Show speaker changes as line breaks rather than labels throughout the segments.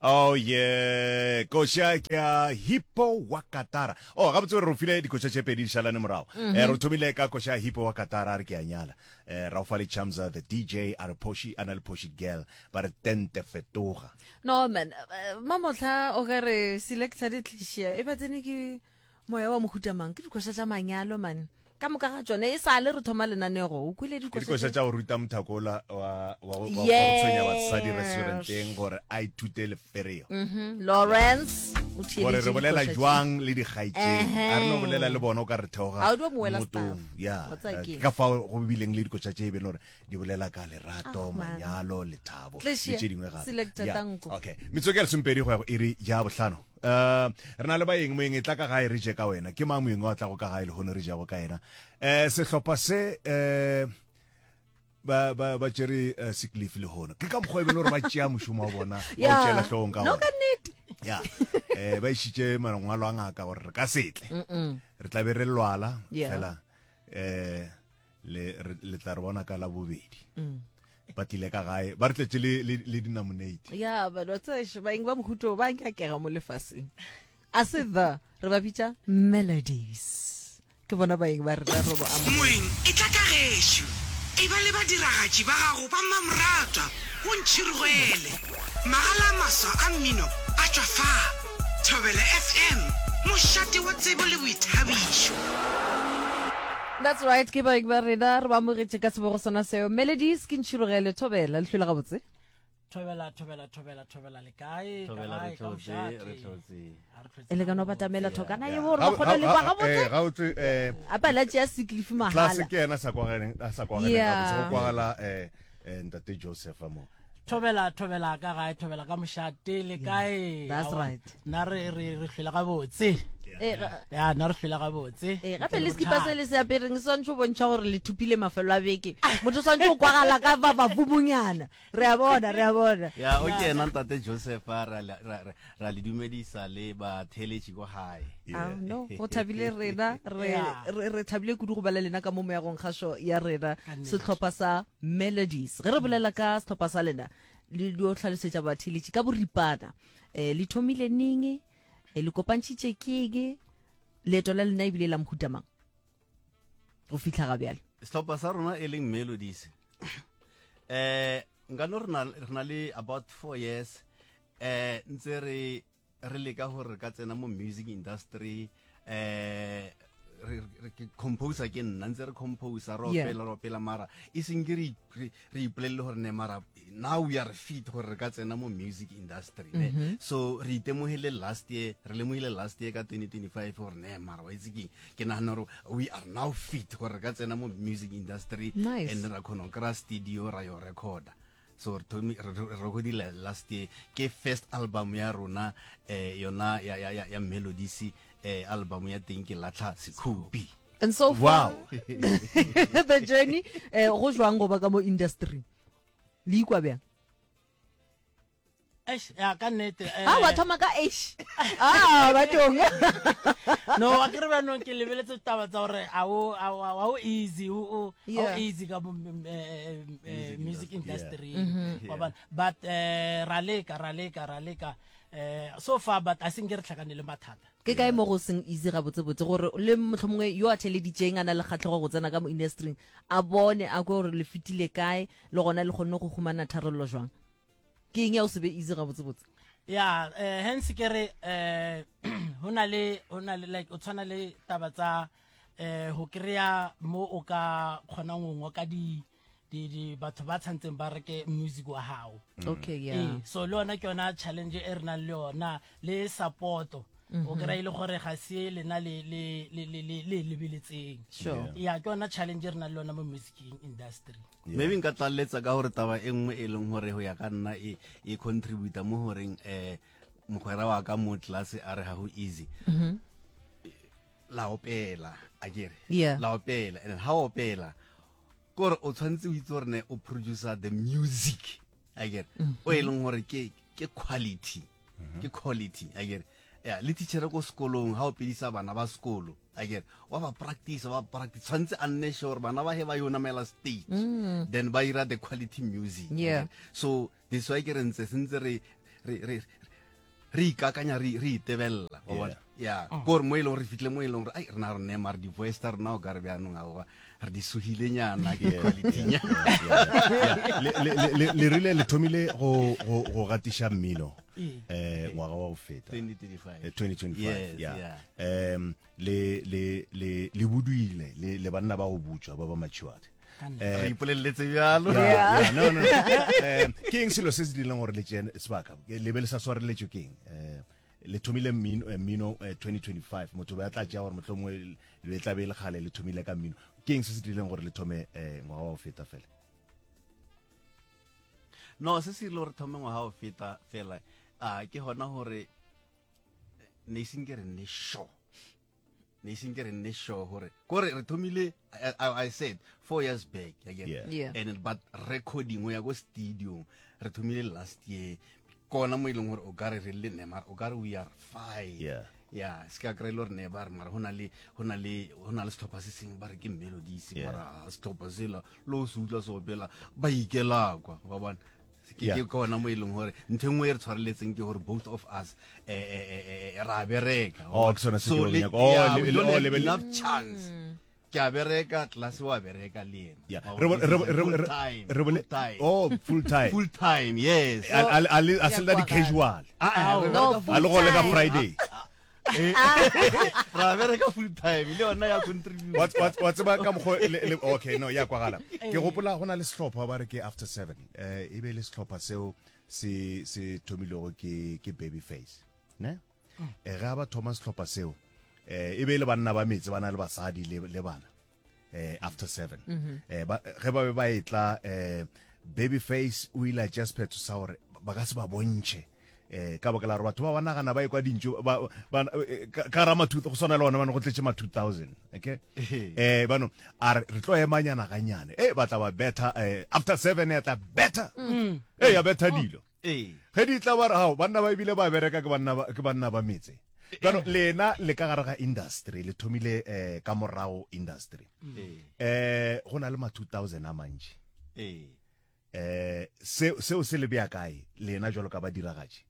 Oh yeah, koša ke ya Hippo wa Katara. Oh, gabotse re file dikoša tše pedi di šalane morago. Mm -hmm. Eh, re thomile ka koša ya Hippo wa Katara a re ke a nyala. Eh, ra fa le Chamza the DJ a re Phoshi a na le Phoshi girl ba re tente fetoga.
No man, eh, mamotlha o ka re selector di tlišia e ba tsene ke Moya wa mohuta mang? Ke dikoša tša manyalo man. Ka moka ga tšone e sa le re thoma lenanego. O kwele
dikoša. Ke dikoša tša go ruta mothakola wa wa go tshwenya basadi restauranteng gore a ithute lefereo.
Mhm. Lawrence o
theeletše. Gore re bolela jwang le dikgaetšedi. A re no bolela le bona o ka re theoga.
A o dio moela staff.
Ya. Ka fao go bileng le dikoša tše e be le gore di bolela ka lerato, ah, manyalo, lethabo le tše dingwe gape. Okay. Metsotso ya lesompedi go ya go iri ya bohlano. Uh, re na le baeng moeng e tla ka gae re je ka wena ke mang moeng wa tlago ka gae lehono re jago ka yena um sehlopha se um ba ba ba tšere uh, sick leave lehono ke ka mokgwa e bele gore ba tšea mošomo wa bona ba o tšeela hlogong ka
no ka nnete
ya eh ba išitše mangwalo a ngaka gore re ka setle re tla be re lwala fela eh le le tla re bona ka la bobedi mm. ba tlile ka gae ba re tletše le le, le dinamonate
ya ba ba tseshe ba eng ba mohuto ba nyakega mo lefaseng a se the re ba bitša melodies ke bona baeng ba rena robo a
Moeng e tla ka gešo. E ba le badiragatši ba gago ba mmamoratwa go Ntšhirogele. Magala a maswa a mmino a tšwa fa. Thobela FM, mošate wa tsebo le boithabišo.
That's right, ke baeng ba rena re ba amogetše ka sebogo sona seo. Melodies ke Ntšhirogele Thobela, le hlwele gabotse.
Thobela, thobela, thobela, thobela le kae? Ka
Thobela, re
gae, ka
hlotse,
mošate?
re hlotse.
A re hlotse
E le ka no
gabotse.
batamela thokana
Yeah.
ye gore ba
Ga-
kgone
ga-
le kwa
ga-
gabotse.
eh, gabotse eh
A pa la tšea sick leave
tlase
mahala.
ke yena sa kwagaleng a sa kwagaleng
Yeah.
gabotse go kwagala eh eh ntate Joseph mo
Thobela, thobela ka gae, thobela ka mošate, le kae?
That's
Aowa,
right.
Nna re re re hlwele gabotse.
Eh, ga-
Ya, nna re hlwele gabotse.
Eh, gape le sekipa se le se apereng se swantšhe go bontšha gore le thupile mafelo a beke motho o swantšhe go kwagala ka bababumonyana re a bona re a bona
ya o ke ena ntate joseph a ra le- ra- ra- ra le dumedisa le batheeletši ko gae
Ah, no go thabile rena re
Yeah.
re re thabile kudu go ba le lena ka mo moyagong kgašo ya rena
Ka nnete.
sehlopha sa melodies ge re bolela ka sehlopha sa lena le dio hlalosetša batheeletši ka boripana um le thomile neng eh, le kopantšhitše keng leeto la lena ebile la mohuta mang go fihla ga bjale
sehlopha sa rona e leng melodies eh nka no re na re na le about four years eh ntse re re leka gore re ka tsena mo music industry eh re re- ke composer ke nna ntse re composer re
Yeah.
opela re opela mara e seng ke re re re ipolelele gore ne mara now we are fit gore re ka tsena mo music industry ne mm -hmm. so re itemogile last year re lemogile last year ka 2025 gore ne mara wa itse keng ke nagana gore we are now fit gore re ka tsena mo music industry
nice.
and ra kgona go kry-a studio ra yo recorda so re thomi re recordile last year ke first album ya rona eh yona ya ya ya melodies eh album ya teng ke latlha sekhupi
And so far, wow. the journey eh go jwang go ba ka mo industry le ikwa bjang
Eish, ya ka nnete
eh. Ah, wa thoma ka eish. Ah, bathong.
No, a ke re bjanong ke lebeletse taba tsa gore a o a o easy o o easy ka mo eh, eh, music industry. Wa bona. But eh ra leka, ra leka, ra leka. Eh so far but a seng ke re tlhakane le mathata.
Ke kae mo go seng easy gabotsebotse gore le mohlomongwe yo a theeleditšeng a na le kgahlego go tsena ka mo industry-ing a bone a kwe gore le fetile kae le gona le kgonne go humana tharollo jwang? Ke eng ya go se be easy gabotsebotse?
Ya, eh, hence ke re eh ho na le ho na le like o tshwana le taba tsa eh ho kry-a mo o ka kgonang go ngoka di di di batho ba tshwantseng ba reke music wa gago
mm. okay yeah
ee, so le yona ke yona challenge e re nang le yona le supporto mm -hmm. o kry-a e le gore ga se lena le le le le le le lebeletseng
sure
ya ke yona challenge e re nang le yona mo musicing industry
yeah. maybe nka tlaleletsa ka gore taba e nngwe e leng gore go ya ka nna e e contributa mo goreng um mogwera wa ka mo tlase a re ga go easy
mm -hmm.
la opela a kere
yeah.
la opela and ha opela kore o tshwanetse o itse gore ne o producer the music a kere mm -hmm. o e leng gore ke ke quality mm -hmm. ke quality a kere ya le teacher ko sekolong ha o pedisa bana ba sekolo a kere wa ba practice ba practice tshwanetse a nne sure bana ba he ba yo namela stage mm. then ba ira the quality music
yeah.
so this why ke re ntse sentse re re re re ikakanya re re itebelela wa bona ya mm. kore mo e leng gore re fitlhe mo e leng gore ai rena re ne mare di-voice tsa rena o ka re bjanong aowa re di suhilenyana ke qualitynyana
le rile le thomile go gatiša mmino um ngwaga wa go feta
2025
ya um le le le le buduile le le banna ba go butšwa ba ba matured
eh, re ipoleletse bjalo
no no eh, ke eng selo se se dirileng gore le tšee sebaka le be le sa swareletšwe ke eng eh, le thomile mmino mmino 2025 motho ba tla tšea gore mohlomongwe le tla be le kgale le thomile ka mmino ke eng se se dirileng gore le thome ngwaga wa go feta fela
no se se dirile gore thome ngwaga wa go feta fela a ke gona gore ne iseng ke re nne sure ne iseng ke re nne sure gore kore re thomile I, I, I said four years back again
yeah.
Yeah.
and but recording o ya ko studio re thomile last year kona mo e leng gore o ka re re le ne mara o ka re we are fine
yeah
ya se ka kry-e le gore ne ba re mara go na le go na le go na le setlhopha se sengwe ba re ke melodies
Yeah.
mara setlhopha sela le o se utlwa se opela ba ikela kwa wa bona ke
Yeah.
ke gona mo e leng gore ntho e nngwe e re tshwareletseng ke gore both of us eh, eh, eh, eh, ra bereka
Oh, ke sone se ke
So
beng
le-
nyaka. Oh,
yeah,
le-
we
le-
don't
oh,
have
le be le-
enough chance ke a bereka class wa bereka le yena
Yeah.
Wa
Re bo-
bona,
re bo- re bo-
full
re-
time,
re bole-
full time.
Oh, full time.
full time yes
A- a- a le- a se le
Ya
di casual.
Ah, ah, re
No,
bereka full
A le go le ka
time.
Friday.
ra bereka full time le yona ya contribute
Wa- wa wa tseba ka mokgwa le- le- okay no ya kwagala ke gopola go na le sehlopha ba re ke after seven eh e be le sehlopha seo se se thomilego ke ke baby face ne eh ga ba thoma sehlopha seo eh e be e le banna ba metse ba na le basadi le le bana eh after 7 mm -hmm. eh ba ge ba be ba etla eh baby face o ile a tšea sephetho sa gore ba ka se ba bontšhe eh ka baka la gore batho ba ba nagana ba ekwa dintšo ba ba eh, ka ra ma go swana le ona bano go tletše ma 2000 okay eh bano a re re tlo emanyana ganyane eh ba tla ba better eh, after 7 ya tla better mm. eh ya better dilo
Ee.
Ge di tla ba re, Hao, banna ba ebile ba bereka ke banna ba, ke banna ba metse. Bjano, lena le ka gare ga industry, le thomile eh, ka morago industry.
Ee.
Eh, go na le ma 2000 a mantši.
Ee.
Eh, se, seo se le bea kae, lena jwalo ka badiragatši?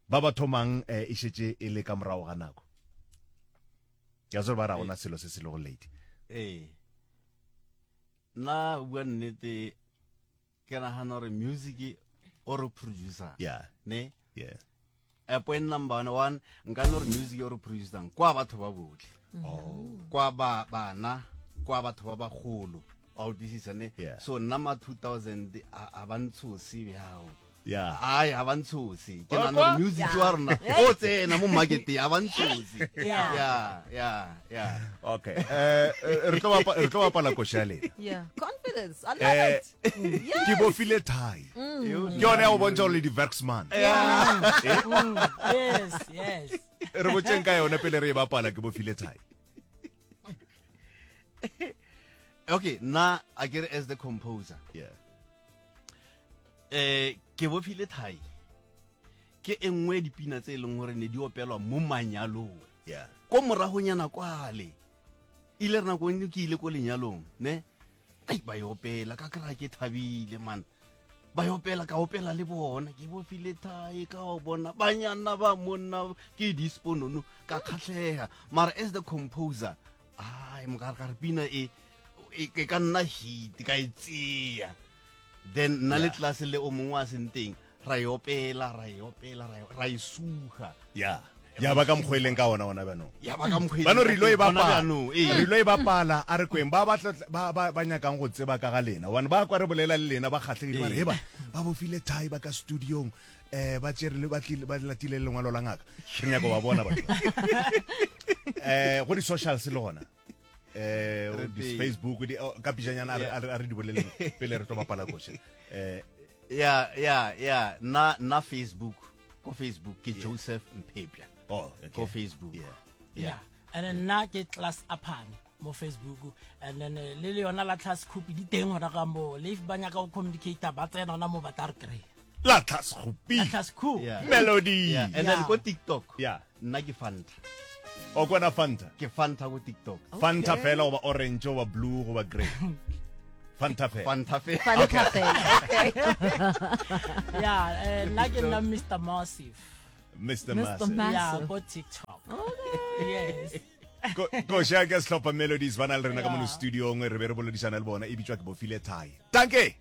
Ba ba thomang eh, e šetše e le ka morago ga nako. Ke a tseba ba ra gona selo se se lego late.
Ee. Nna go bua nnete ke nagana gore music o re producer
yeah
ne
yeah
uh, point number one nka no re music o re producang kwa batho ba botlhe
oh
kwa ba bana kwa batho ba bagolo a utlwisisa ne
Yeah.
so nna ma 2000 a a ba ntshose bjao
yeah
ai ga ba ntshose ke
Wa
nagana
kwa?
gore music wa rona o tsena mo marketeng ga ba ntshose
Yeah.
ya ya ya
okay eh eh, re tlo bapa- re tlo bapala koša ya lena
Yeah. Confidence. I love
Eh,
it. Yes.
ke bofile thai ke yone ya go bontšha gore le di-verksman
yes yes
re botseng ka yone pele re e bapala ke bofile thai
okay nna a kere as the composer
yeah
eh ke bofile thai ke e nngwe ya dipina tse e leng gore ne di opelwa mo manyalong
yeah
ko moragonyana kwale ile re nako nngwe ke ile ko lenyalong ne ai ba e opela ka kry ke thabile man ba e opela ka opela le bona ke bofile thai ka o bona banyana ba monna ke disponono ka kgatlhega mara as the composer ai mokare ka re pina e e e ka nna hit ka e tseya then nna le class le o mongwe a seng teng ra e opela ra e opela ra e- ra e suga
ya ya ba ka mokgwa e leng ka ona ona bjanong
ya ba ka mokgwa e
bano
leng
re ilo e
ka teng, gona
bapala
bjanong, ee.
re ilo e bapala a re kweng ba ba tla- ba ba ba nyakang go tseba ka ga lena gobane ba kwa re bolela le lena ba kgatlhegile ba re heba ba bofile thai ba ka studiong um ba tšere le- ba tlile- ba latile le lengwalo la ngaka re nyako ba bona batho um go di-socials le gona eh
Re
di
teng.
Facebook di oh, ka pijanyana a re- a re a re di boleleng pele re tlo bapala koše eh
ya ya ya nna nna facebook ko facebook ke joseph mphepya
oh okay.
ko facebook
yeah
yeah and then nna ke class aphane mo facebook and then eh, le le yona la tlhas khupi di teng gona ka mo le if ba nyaka go communicate ba tsena gona mo ba tla re kry
la tlhasgopi
la tlhas khu
Yeah.
melody
yeah and then
Yeah.
ko tiktok
Yeah.
nna ke fanta
o kwana fanta
ke fanta ko tiktok
fanta fela goba orange goba blue goba grey fanta fela
fanta fela
Fanta fela. Okay.
yeah eh, nna ke nna mr massive
Mr.
Mr.
Massive.
Massive.
Yeah, ko TikTok. Yes.
Ko- koša ke sehlopha melodies ba na le rena ka mono
Yeah.
studiong re be re boledišana le bona e bitswa ke bofile thai tanke.